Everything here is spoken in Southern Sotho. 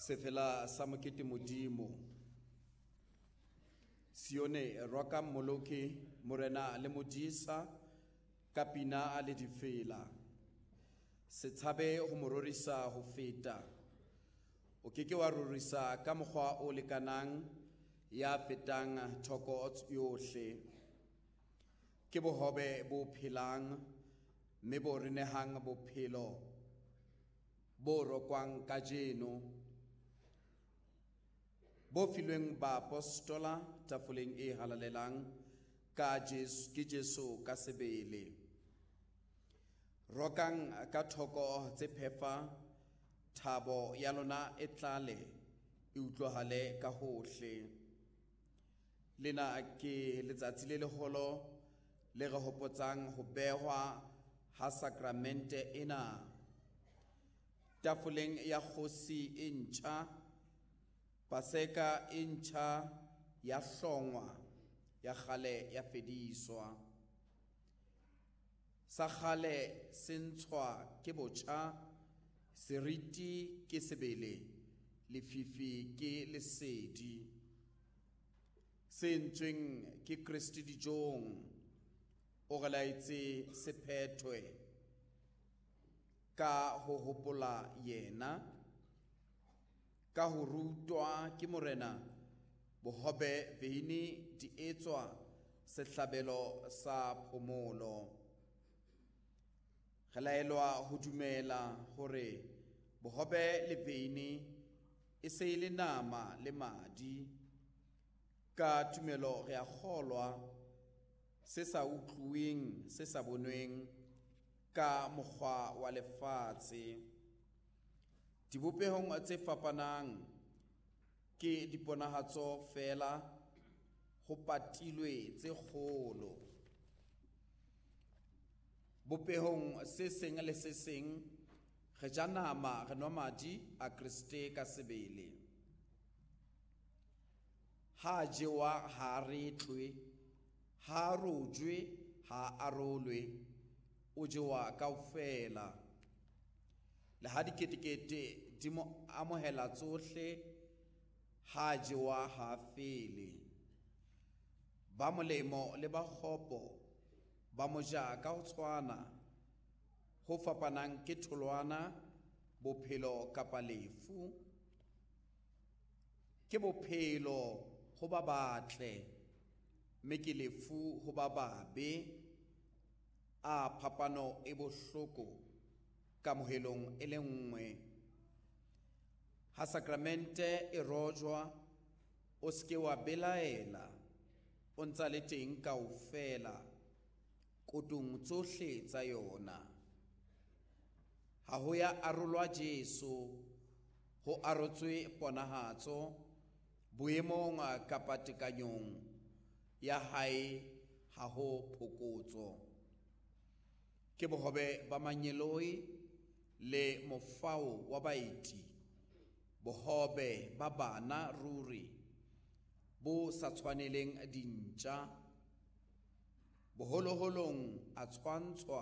Sefela sa mokete Modimo. Sione roka Mmoloki, Morena le Modisa, ka pina le difela. Se tshabe ho mo rorisa ho feta. O ke ke wa rorisa ka mokgwa o lekanang ya fetang thoko yohle. Ke bohobe bo phelang mme bo re nehang bophelo bo rokwang kajeno, bo filweng baapostola tafoleng e halalelang ka Jesu, ke Jesu ka sebele. Rokang ka thoko tse phefa, thabo ya lona e tlale, e utlwahale ka hohle. Lena ke letsatsi le leholo le re hopotsang ho behwa ha sakramente ena. Tafoleng ya kgosi e ntjha, Paseka e ntjha ya hlongwa, ya kgale ya fediswa. Sa kgale se ntshwa ke botjha, seriti ke sebele, lefifi ke lesedi. Se entsweng ke Kreste dijong, o re laetse se phethwe ka ho hopola yena, ka ho rutwa ke Morena, bohobe veine di etswa sehlabelo sa phomolo. Re laelwa ho dumela hore bohobe le veine e se e le nama le madi. Ka tumelo re a kgolwa se sa utluweng, se sa bonweng ka mokgwa wa lefatshe. Dibopehong tse fapanang ke diponahatso feela, ho patilwe tse kgolo. Bopehong se seng le se seng re ja nama, re nwa madi a Kreste ka sebele. Ha jewa ha retlwe, ha rojwe ha arolwe, o jewa kaofela. Le ha diketekete di mo amohela tsohle, ha jewa ha fele. Ba molemo le ba kgopo ba mo ja ka ho tshwana, ho fapanang ke tholwana, bophelo kapa lefu. Ke bophelo ho ba batle, mme ke lefu ho ba babe. A phapano e bohloko kamohelong e le nngwe. Ha sakramente e rojwa, o se ke wa belaela, o ntsa le teng kaofela kotong tsohle tsa yona. Ha ho ya arolwa Jesu, ho arotswe ponahatso boemong kapa tekanyong ya hae, ha ho phokotso. Ke bohobe ba mangeloi le mofao wa baeti, bohobe ba bana ruri bo sa tshwaneleng dintja. Boholoholong a tshwantshwa